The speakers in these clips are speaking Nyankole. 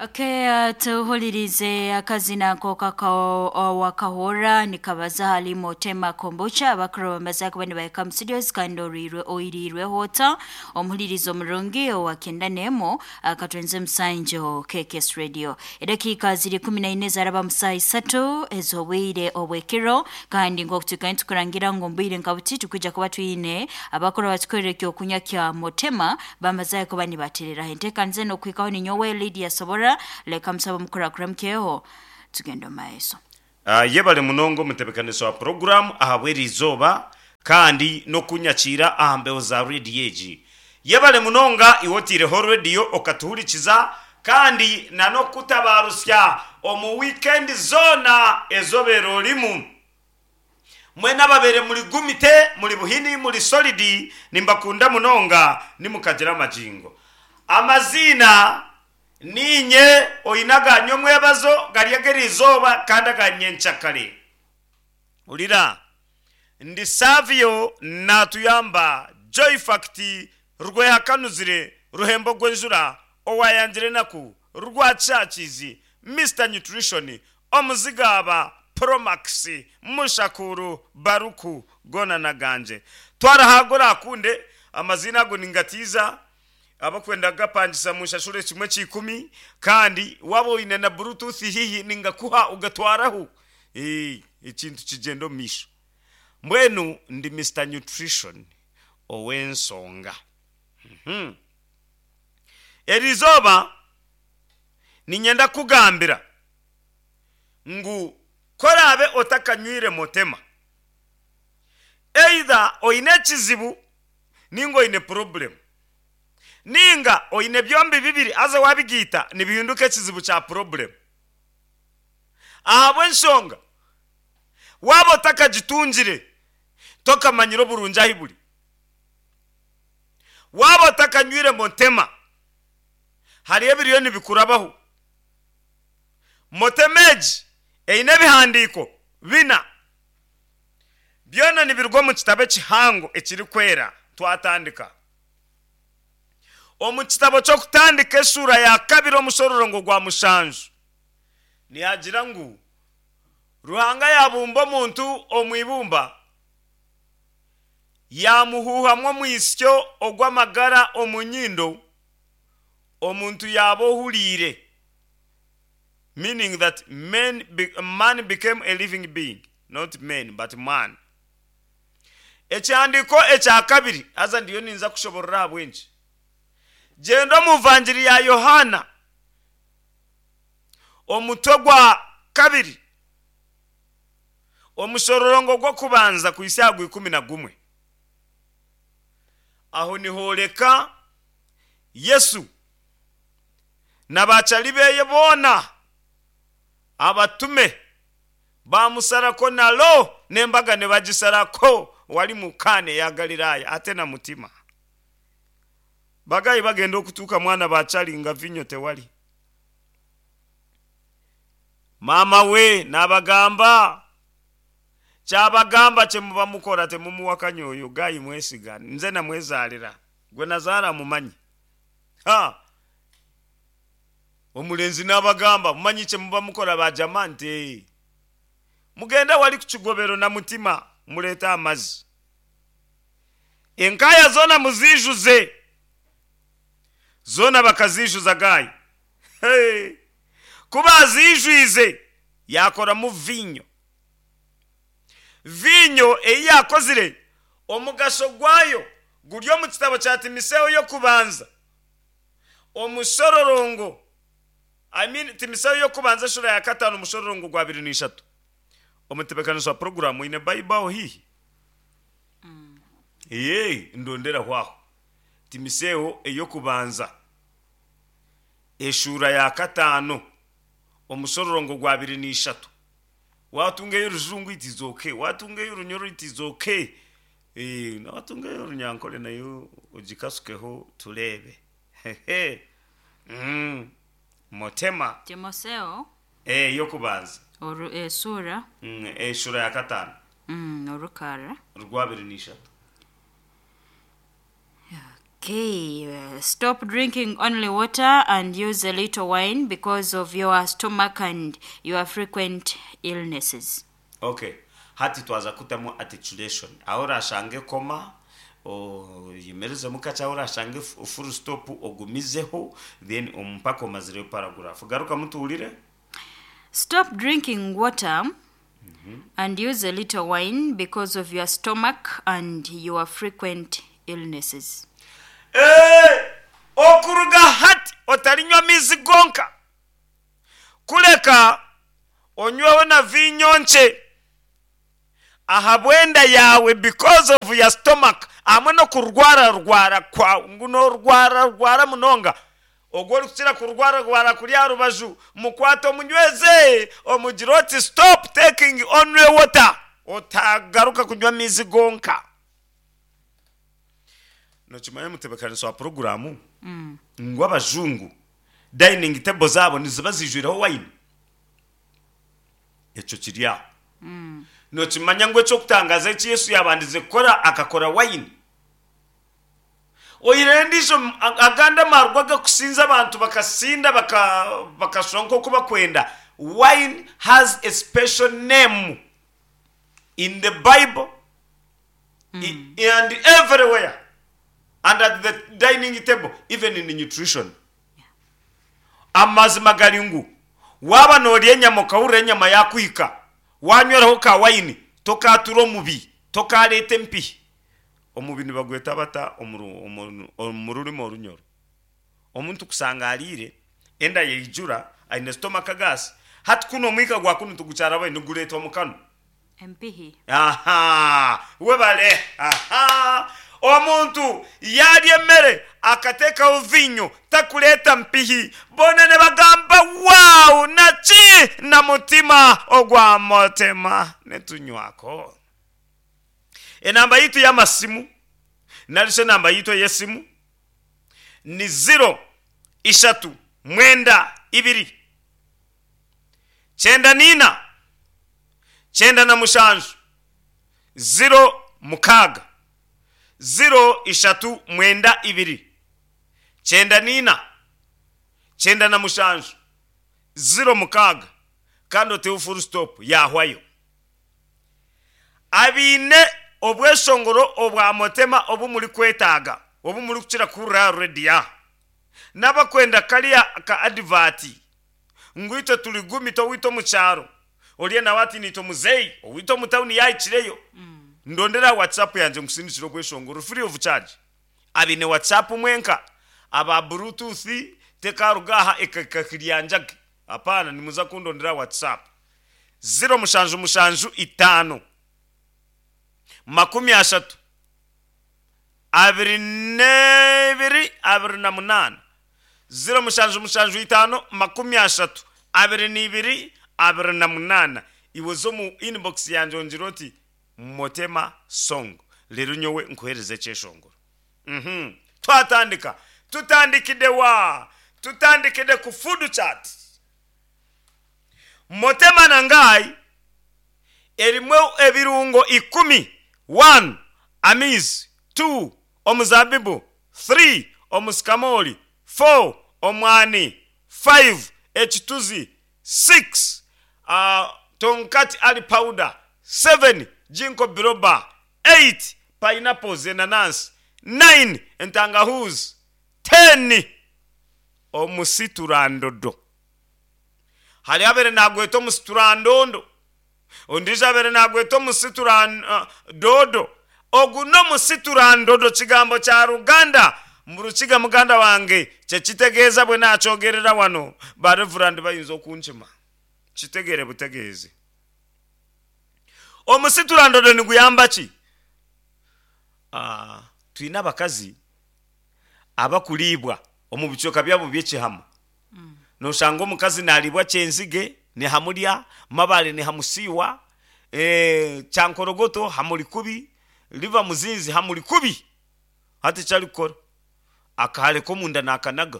Okay, tuhulirize akazina nk'oka wakahora nikabaza hali Motema Kombucha abakuru bamaze kuba nibaika mu studios kandi orirwe oirirweho ota omuhulirizo omurungi owakenda nemo akatwenze musanjo KKS Radio. Edakiika ziri 14 zaraba musaha 3 ez'obwire obwekiro, kandi nk'okutuka nitukurangira ngu mbwire nka buti tukwija kuba twine abakuru batukorera ekyokunywa kya Motema bamaze kuba nibatereraho enteekaniza n'okuhikaho. Ninyowe Lydia Sobora, leka musaba mukurakura mkeho tugenda omu maiso. Yebale munonga omutebekanisa wa puroguramu ahabw'eri izooba kandi n'okunyakiira aha mbeho za rediyo egi. Yebale munonga iwe otaireho rediyo okatuhurikiza kandi na n'okutabarutsya omu wiikendi zoona ezi obaire orimu. Mwena ababaire muri gumite, muri buhini, muri solidi, nimbakunda munonga, nimukagira amagingo. Amaziina niinye oine aga nyomwebazo gari ag'eriizooba kandi aga nyenkyakare. Hurira, ndi Savio naatuyamba Joy Fact Rwehakanuzire Ruhembo Gwenjura owayangire enaku Rwakyakiizi Mister Nutrition Omuzigaaba Promax Mushakuru Baruku goona n'agangye. Twara ahago oraakunde, amaziina ago ningatiiza abakwenda kugapangisa munshashure kimwe kya ikumi, kandi waaba oine na bluetooth haihi ningakuha ogatwaraho ekintu kigyende omu maisho. Mbwenu ndi Mister Nutrition ow'ensonga. Eri izooba niinyenda kukugambira ngu ku oraabe otakanywire Motema, either oine ekizibu ninga oine purobulemu, ninga oine byombi bibiri haza waabigaita nibihinduka ekizibu kya purobulemu. Ahabw'enshonga waaba otakagitungire tokamanyire oburungi ahu buri. Waaba otakanywire Motema, hariho ebiriyo nibikurabaho. Motema egi eine ebihandiiko bina. Byona nibiruga omu kitabo ekihango ekirikwera. Twatandika omu kitabo ky'Okutandika eshuura ya kabiri omushororongo gwa mushanju, nihagira ngu Ruhanga yaabumba omuntu omu ibumba, yaamuhuuhamu omwitsyo ogw'amagara omu nyindo, omuntu yaaba ohuriire, meaning that men, man became a living being, not men but man. Ekihandiiko ekya kabiri, haza ndiyo ninza kushoborora ahabw'enki. Gyenda omu Vangiri ya Yohaana, omutwe gwa kabiri, omushororongo gw'okubanza kuhitsya aha gw'ikumi na gumwe. Aho nihooreka Yesu na baacari beye boona abatume baamusarako na lo n'embaga nibagisarako wali mu Kaana eya Galilaaya ate na mutima. Bagayi bagenda okutuuka mwana baacari nga vinyo tewali. Maama we naabagamba, Kyabagamba kye muba mukora temumuwakanya oyo guy mwesiga nze namwezaalira gwe nazaara amumanyi. Ha! Omulenzi naabagamba, Mumanyi kye muba mukora baajama? Nti ee. Mugende awali ku kigobero na mutima mureete amazzi. Enkaaya zoona muziijuze. Zoona bakaziijuza guy. Hey! Ku baaziijwize yaakoramu viinyo. Viinyo ei yaakozire, omugasho gwayo guri omu kitabo kya Timiseo y'Okubanza, omushororongo, I mean, Timiseo y'Okubanza eshuura ya kataano omushororongo gwa abiri na ishatu. Omutebeekanisa wa puroguraamu oine Baibuli aho haihi? Ee, ndonderaho aho. Timiseo ey'Okubanza eshuura ya kataano omushororongo gwa abiri na ishatu. Waatunga ey'orujungu it is okay, waatunga ey'orunyoro it is okay, waatunga ey'orunyankore nayo ogikasukeho tureebe. Motema. Timoseo. Ey'okubanza. Oru, esuura. Eshuura ya kataano. Orukarra. Rw'abiri na ishatu. Okay, stop drinking only water and use a little wine because of your stomach and your frequent illnesses. Okay, hati twaza kutamu articulation. Aho orashange koma oyemerezemu kakye, ahu orashange full stop ogumizeho then mpaka omazireyo paragraph. Garukamu tuhurire. Stop drinking water and use a little wine because of your stomach and your frequent illnesses. Ee, okuruga hati otarinywa amaizi gonka, kureka onyweho na viinyo nkye ahabw'enda yaawe, because of your stomach, hamwe n'okurwararwara kwawe, ngu noorwararwara munonga. Ogwo orikukira kurwararwara kuri aha rubaju, mukwate omunyweze, omugire oti, Stop taking only water, otagaruka kunywa amaizi gonka. Nokimanya omutebeekanisa wa puroguraamu ngu abajungu dining table zaabo niziba ziijwireho wayini? Ekyo kiri aho. Nokimanya ngu eky'okutangaaza eki Yesu yaabandize kukora akakora wayini? Oihireho endiijo agandi amaarwa agakusinza abantu bakasinda bakashusha nk'oku bakwenda, wine has a special name in the Bible and everywhere and at the dining table even in nutrition. Amazima gari ngu waaba noorya enyama okahurira enyama yaakuhika, waanyweraho ka wayini tokaatura omubi, tokaareeta empihi. Omubi nibagweta bata omu rurimi orunyoro? Omuntu kushanga ariire, enda yaijura, aine stomach gas, hati kunu omwika gwa kunu tigukyarabayo nigureetwa mu kanwa. Empihi. Aha! Webale. Aha! Omuntu yaarya emere akateekaho viinyo takureeta mpihi. Boona nibagamba, Wow! Naki? Na mutima ogwa Motema nitunywako. Enamba yaitu y'amasimu nari shi enamba yaitu ey'esimu ni ziro ishatu mwenda ibiri kyenda n'ina 97 06 0 ishatu mwenda ibiri 94 97 06 kandi oteho full stop yaahwayo. Abaine obweshongoro obwa Motema obu murikwetaaga, obu murikukira kuhurira aha rediyo aha, n'abakwenda kariya ka adivaati ngu itwe turi gumita owaitu omu kyaro, oriya nawe ati naitwe muzeeyi owaitu omu tawuni yaahikireyo, ndondera aha WhatsApp yangye nkusindikire obweshongoro free of charge. Abaine WhatsApp mwenka, aba Bluetooth tekaruga aha ekahika kiryanjage, apaana, nimuza kundondera aha WhatsApp. Ziro mushanju mushanju itaano 30 22 28 0775 30 22 28 Iwe oze omu inbox yangye ongire oti Motema song reero nyowe nkuheereze ekyeshongoro. Uhmm twatandika. Tutandikide wa? Tutandikide ku food chat. Motema na Ngai erimu ebirungo ikumi, one amaizi, two omuzabibu, three omusikamoori, four omwani, five ekituzi, six tonkati ali powder, seven ginkgo biloba, eight pineapples, enanansi, nine entangahuuzi, ten omusiturandodo. Hariho abaire naagweta omusiturandondo, ondiijo abaire naagweta omusituradoodo. Ogu n'omusiturandodo kigambo kya Ruganda. Mu Rukiga muganda wange kye kitegeeza bwe naakyogerera wano, ba Revurandi bayinza okunkima. Kitegeere butegeezi. Omusiturandodo niguyamba ki? Twine abakazi abakuriibwa omu bicweka byabo by'ekihama. Noshanga omukazi nariibwa kyenzige nihamurya, mabaare nihamusiiwa, kyankorogoto hamuri kubi, liver muzinzi hamuri kubi. Hati eki arikukora akahare k'omunda nakanaga,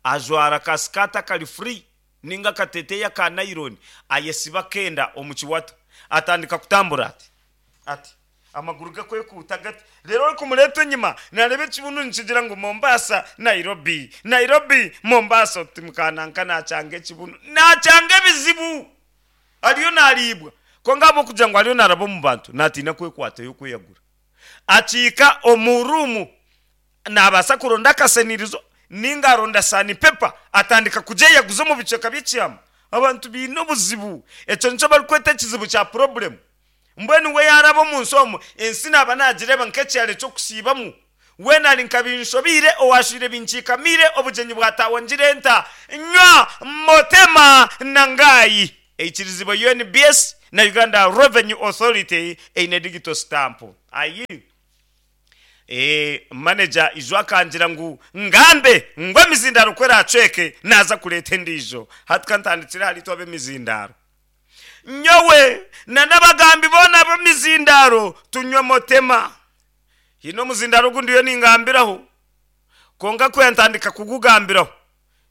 ajwara ka sikaati akari free ninga akateteeyi aka nayironi, ayesiba akenda omu kiwato, atandika kutambura ati ati. Amaguru gakwekuuta gati. Reero orikumureeta enyima naareeba ekibunu nikigira ngu Mombasa, Nairobi, Nairobi, Mombasa. Oti mukananka naakyanga ekibunu. Naakyanga ebizibu. Ariyo naariibwa. Kwonka ahabw'okugira ngu ariyo naaraba omu bantu, naatiina kwekwatayo kweyagura. Akiika omu ruumu, naabaasa kuronda akasenirizo nainga aronda sanipepa atandika kugyeyaguza omu bicweka by'ekyama. Abantu baine obuzibu. Ekyo nikyo barikweta ekizibu kya purobulemu. Mbwenu we yaaraba omu nsi omu, ensi naaba naagireeba nk'ekyaro eky'okusiibamu. Weena ari nka binshobeire, owaashwire binkiikamiire, obugyenyi bwataahwa ngira enta, nywa, motema na ngaayi. Eikirizibwa UNBS na Uganda Revenue Authority eine digital stamp. Ayi. Ee, maneja ijo akangira ngu ngambe ngu emizindaaro ku eraacweke naaza kureeta endiijo. Hati ka ntandikire ahari itwe ab'emizindaaro. Nyowe na n'abagambi boona ab'emizindaaro tunywe motema. Haine omuzindaaro ogu ndiyo ningambiraho, kwonka ku yantandika kugugambiraho,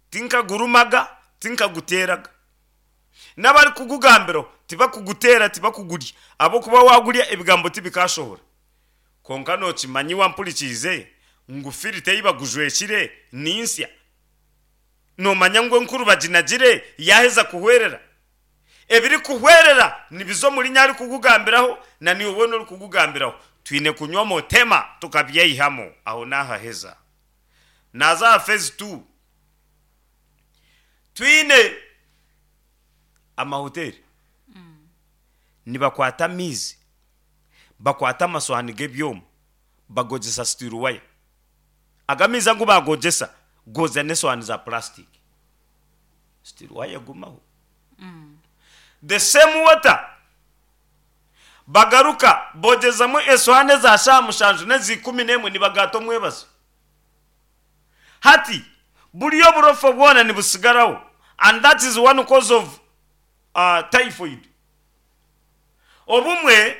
tinkagurumaga, tinkaguteeraga. N'abarikugugambiraho tibakuguteera, tibakugurya, ahabw'okuba waagurya ebigambo tibikaashohora. Kwonka nookimanya iwe ampurikiize ngu filita ei bagujwekire ni nsya? Noomanya ngu enkuru baginagire yaaheza kuhwerera? Ebirikuhwerera nibiza omuri nyowe arikugugambiraho na naiwe weena orikugugambiraho. Twine kunywa motema tukabyeihamu. Aho naahaheza. Naaza aha phase tuu. Twine amahoteeri nibakwata amaizi, bakwata amasohaani g'ebyoma bagogyesa steel wire. Ago amaizi agu baagogyesa goozya n'esohaani za purasitiiki. Steel wire egumaho. The same water bagaruka boogyezamu esohaani eza shaaha mushanju n'eza ikumi n'emwe nibagaata omwebazo. Hati buriya oburofa bwona nibusigaraho and that is one cause of typhoid. Obumwe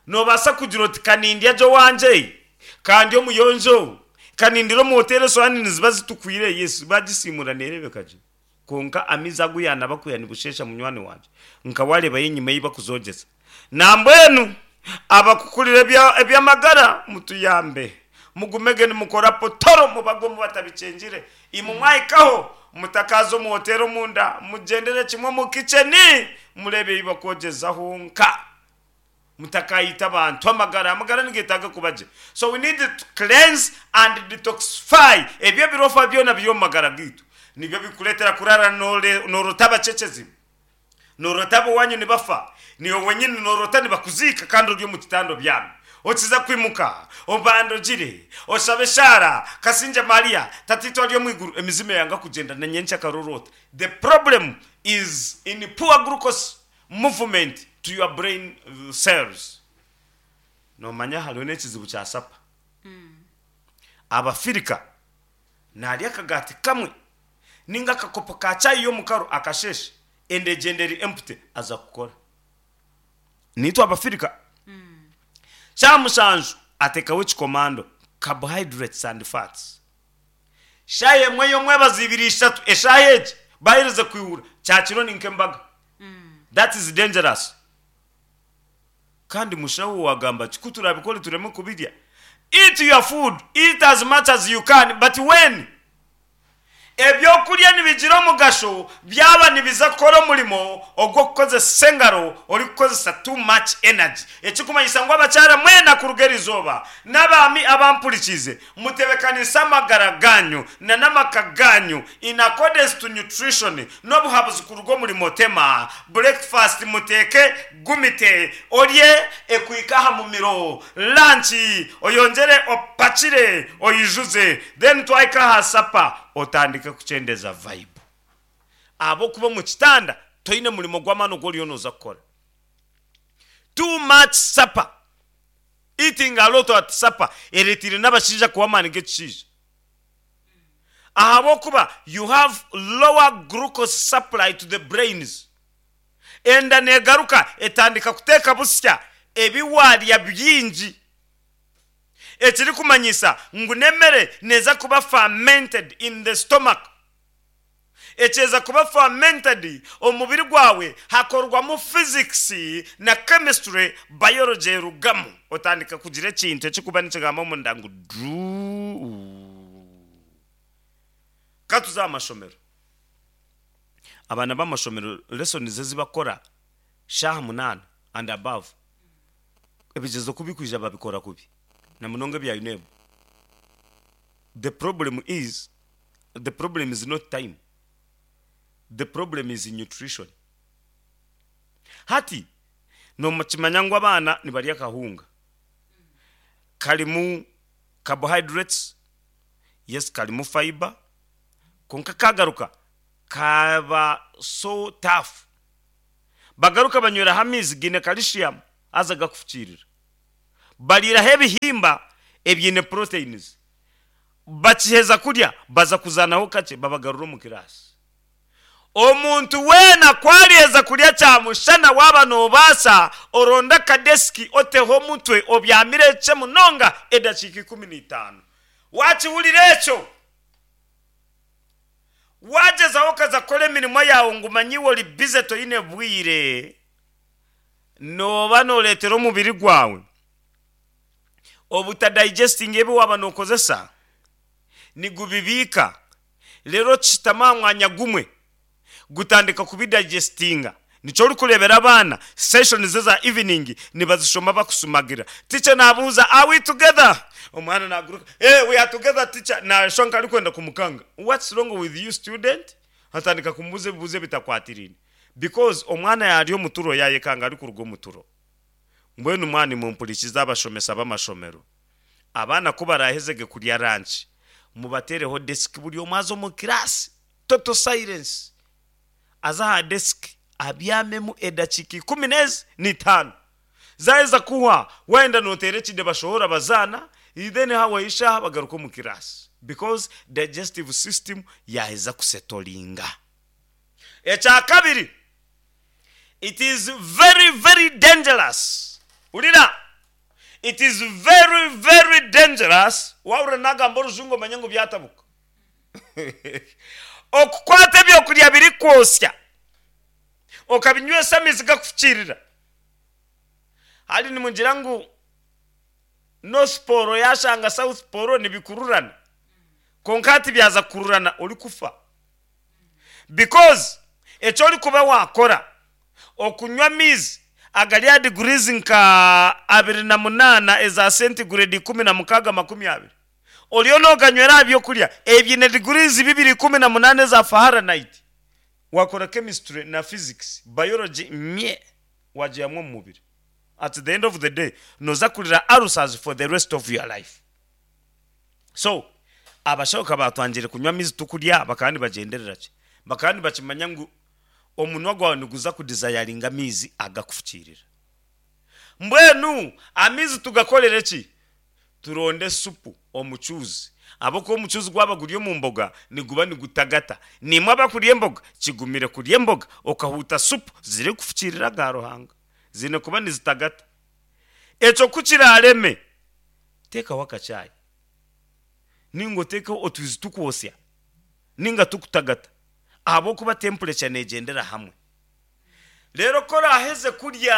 noobaasa kugira oti ka nindya gye owangye, ka ndye omuyonjo, ka nindira omu hoteeri esowaani niziba zitukwire, yes baagisiimuura neereebeka gye. Kwonka amaizi agu yaanaba kwiha nibusheesha munywani wangye, nka waareebayo enyima ei bakuzogyeza. Nambwenu abakukurira eby'amagara mutuyambe, mugumege nimukora potoro mubagwe omu batabikyengire. Imwe mwahikaho mutakaaza omu hoteeri omunda, mugyendere kimwe omu kicheni mureebe ebi bakwogyezaho nka. Mutakaayita abantu amagara, amagara nigetaaga kuba gye. So we need to cleanse and detoxify ebyo ebirofa byona biri omu magara gaitu. Nibyo bikureetera kuraara noorota abacekyezi, noorota ab'owaanyu nibafa, naiwe wenyini noorota nibakuziika kandi ori omu kitanda obyami. Okiza kwimuka, obande ogire, oshabe eshaara, Kasingye Maria, Tataitwe ari omu iguru, emizimu eyanga kugyenda na nyenkyakare oroota. The problem is in poor glucose movement to your brain cells. Noomanya hariho n'ekizibu kya sapa. Abafirika naarya akagaati kamwe nainga akakopo ka chai y'omukaru akasheeshe, enda egyenda eri empty aza kukora. Naitwe Abafirika shaaha mushanju ateekaho ekikomando, carbohydrates and fats. Shaaha emwe y'omwebazo ibiri ishatu eshaaha egi baaherize kwihura kyakiro ni nk'embaga. That is dangerous. Kandi mushaho wagamba ki ku turabikore tureme kubirya? Eat your food, eat as much as you can but when? Ebyokurya nibigira omugasho byaba nibiza kukora omurimo ogw'okukozesa engaro orikukozesa too much energy. Ekirikumanyisa ngu abakyara mwena kuruga erizooba n'abaami abampurikiize mutebekanise amagara gaanyu na n'amaka gaanyu in accordance to nutrition n'obuhabuzi kuruga omuri Motema. Breakfast muteeke Gumite orye ekuhika aha mumiro, lunch oyongyere opakire oyijuze then twahika aha supper otandike kukyendeza vibe. Ahabw'okuba omu kitanda toine murimo gw'amaani ogu oriyo nooza kukora. Too much supper, eating a lot at supper ereteire n'abashaija kuhwa amaani g'ekishaija ahabw'okuba you have lower glucose supply to the brains. Enda neegaruka etandika kuteeka busya ebi waarya bingi, ekirikumanyisa ngu n'emere neeza kuba fermented in the stomach. Ekyeza kuba fermented omu mubiri gwawe hakorwamu physics na chemistry, biology erugamu otandika kugira ekintu ekirikuba nikigamba omunda ngu druu. Ka tuze aha mashomero. Abaana b'amashomero lessons ezi bakukora shaaha munaana and above, ebigyezo ku bikwija babikora kubi na munonga ebya UNEB. The problem is, the problem is not time, the problem is nutrition. Hati nomukimanya ngu abaana nibarya akahunga karimu carbohydrates, yes karimu fibre, kwonka kagaruka kaaba so tough. Bagaruka banyweraho amaizi gaine calcium haza gakufukiirira. Bariiraho ebihimba ebiine proteins. Bakiheza kurya baza kuzaanaho kakye babagarura omu kiraasi. Omuntu weena ku ariheza kurya kyamushana waaba noobaasa oronde akadesiki oteho omutwe obyamire ekye munonga edakiika 15. Waakihurira ekyo? Waagyezaho okaza kukora emirimo yaawe ngu manya iwe ori bize toine bwire, nooba nooreetera omubiri gwawe obutadigestinga ebi waaba nookozesa, nigubibiika reero kishutama aha mwanya gumwe gutandika kubidigestinga. Nikyo orikureebera abaana sessions eza evening nibazishoma bakusumagira. Teacher naabuuza are we together? Omwana naaguruka eh we are together teacher naashusha nk'arikwenda kumukanga. What's wrong with you student? Atandika kumubuuza ebibuuzo ebitakwatiraine because omwana yaarya omu turo yaayekanga arikuruga omu turo. Mbwenu mwaba nimumpurikiza abashomesa b'amashomero, abaana ku baraahezege kurya ranki, mubateereho desiki buri omwe aze omu kiraasi, total silence, aze aha desiki abyamemu edakiika ikumi n'ezi n'itaano. Zaaheza kuhwa, waayenda nooteera ekide bashohora bazaana, then hahwaho eshaaha bagaruka omu kiraasi because digestive system yaaheza kusetoringa. Ekya kabiri, It is very very dangerous hurira it is very very dangerous wahurira nagamba orujungu omanye ngu byatabuka okukwata ebyokurya birikwosya okabinywesa amaizi gakufukiirira hari nimugira ngu North Pole yashanga South Pole nibikururana kwonka hati byaza kukururana orikufa. Because eki orikuba waakora, okunywa amaizi agari aha degrees nka 28 eza centigrade 16 20, oriyo nooganywera aha by'okurya ebiine degrees bibiri 18 eza Fahrenheit, waakora chemistry na physics, biology mye waagihamu omu mubiri. At the end of the day, nooza kurira ulcers for the rest of your life. So, abashaho ka baatwangire kunywa amaizi tukurya bakaba nibagyenderera ki? Bakaba nibakimanya ngu omunwa gwawe niguza kudizayaringa amaizi agakufukiirira. Mbwenu amaizi tugakorere ki? Turonde supu, omucuuzi. Ahabw'okuba omucuuzi gwaba guri omu mboga niguba nigutagata. Naimwe abakurya emboga, kigumire kurya emboga okahuuta supu zirikufukiirira aga Ruhanga. Ziine kuba nizitagata. Ekyo ku kiraareme, teekaho akacaayi, nainga oteekeho otwizi tukwosya, nainga tukutagata, ahabw'okuba temperature neegyendera hamwe. Reero ku oraaheze kurya,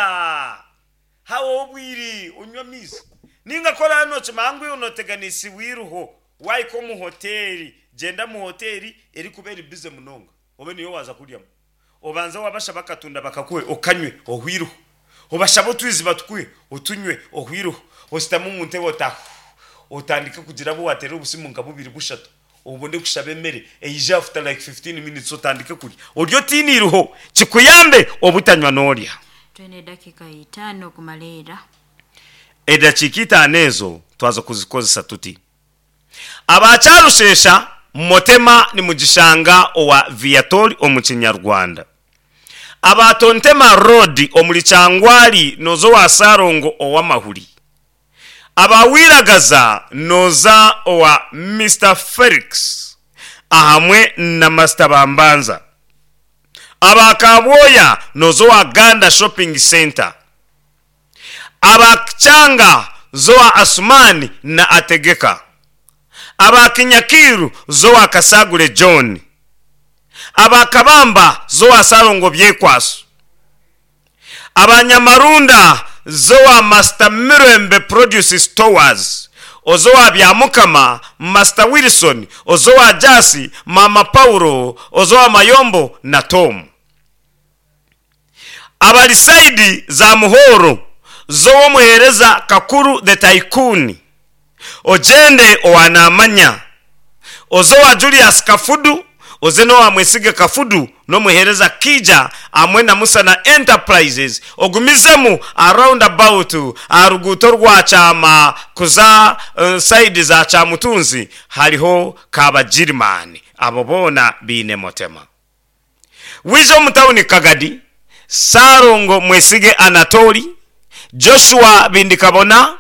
hahwaho obwire onywe amaizi. Nainga ku oraabe nookimanya ngu iwe nooteganisibwa eiruho, waahika omu hoteeri, gyenda omu hoteeri erikuba eri bize munonga, obe niyo waaza kuryamu. Obanze wabashaba akatunda bakakuhe okanywe ohwe eiruho. Obashabe otwizi batukuhe otunywe ohwe eiruho. Oshutame omu ntebe oti otandike kugira abu wateerera obusimu nka bubiri bushatu obone kushaba emere eije after like 15 minutes otandike kurya. Orye otiine eiruho kikuyambe obutanywa n'orya. Twine edakiika itaano kumariira. Edakiika itaano ezo twaza kuzikozesa tuti. Aba Kyarushesha Motema nimugishanga owa Viator omu Kinyarwanda. Aba Tontema Road omuri Kyangwali noza owa Ssalongo ow'amahuri. Aba Wiragaza noza owa Mister Felix ahamwe na Master Bambanza. Aba Kabwoya noza owa Ganda Shopping Centre. Aba Kyanga Zoa Asuman na Ategeka. Aba Kinyakiiru Zoa Kasagure John. Aba Kabamba z'owa Salongo Byekwaso. Aba Nyamarunda z'owa Master Mirembe Produce Stores, oz'owa Byamukama, Master Wilson, oz'owa Jasi, Maama Paulo, oz'owa Mayombo na Tom. Abari sayidi za Muhoro z'ow'omuheereza Kakuru the Tycoon, ogyende owa Namanya, oze owa Julius Kafudu, oze n'owa Mwesige Kafudu n'omuheereza Kiija hamwe na Musana Enterprises, ogumizemu aha round about aha ruguuto rwa Kyama kuza sayidi za Kyamutunzi hariho Kabagirimani. Abo boona baine Motema. Wija omu tauni Kagadi, Ssalongo Mwesige Anatoli, Joshua Bindikabona,